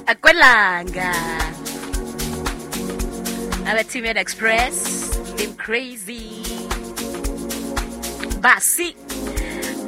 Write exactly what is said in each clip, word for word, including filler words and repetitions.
Akwelanga Abatimela Express Lim Crazy Basi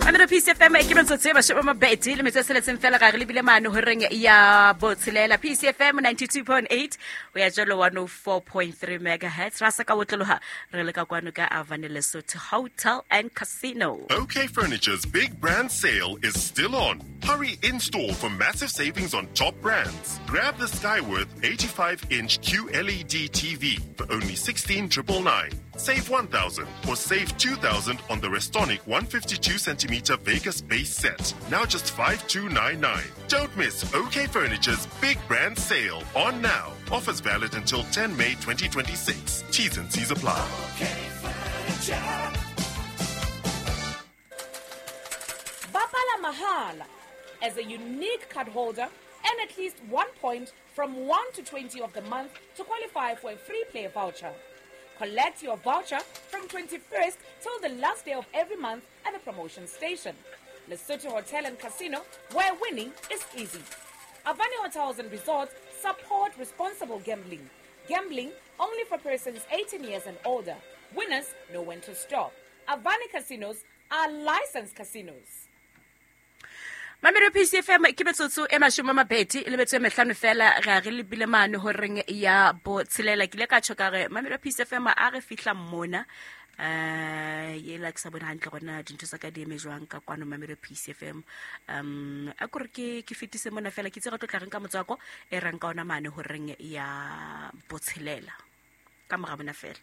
Mamelo P C F M ke metsotso e mashome a mabedi le metso e tsheletseng fela ga re lebile mane horeng ya botshelela. P C F M ninety-two point eight o ya jalo one oh four point three megahertz. Ra sa ka otloloha re le ka kwano ka Avani Lesotho Hotel and Casino. OK Furniture's big brand sale is still on. Hurry in store for massive savings on top brands. Grab the Skyworth eighty-five inch Q L E D T V for only sixteen triple nine. Save one thousand or save two thousand on the Restonic one fifty-two centimeter Vegas base set. Now just five two nine nine. Don't miss OK Furniture's big brand sale on now. Offers valid until ten May twenty twenty-six. T's and C's apply. OK Furniture. Bapala Mahala. As a unique card holder, earn at least one point from one to twenty of the month to qualify for a free play voucher. Collect your voucher from twenty-first till the last day of every month at the promotion station. Lesotho Hotel and Casino, where winning is easy. Avani Hotels and Resorts support responsible gambling. Gambling only for persons eighteen years and older. Winners know when to stop. Avani Casinos are licensed casinos. Mamelo P C F M ke metsotso e mashome a mabedi le metso e mehlano fela ga re lebile mane horeng ya botshelela. Ke ile ka tjho ka re Mamelo P C F M a re fihla mona eh yela ke sa bone hantle gona dintho tsa ka di eme jwang ka kwano Mamelo P C F M. Um a kore ke ke fetise mona fela ke itse re tlo tla reng ka motswako e reng ka ona mane horeng ya botshelela ka mora bona fela.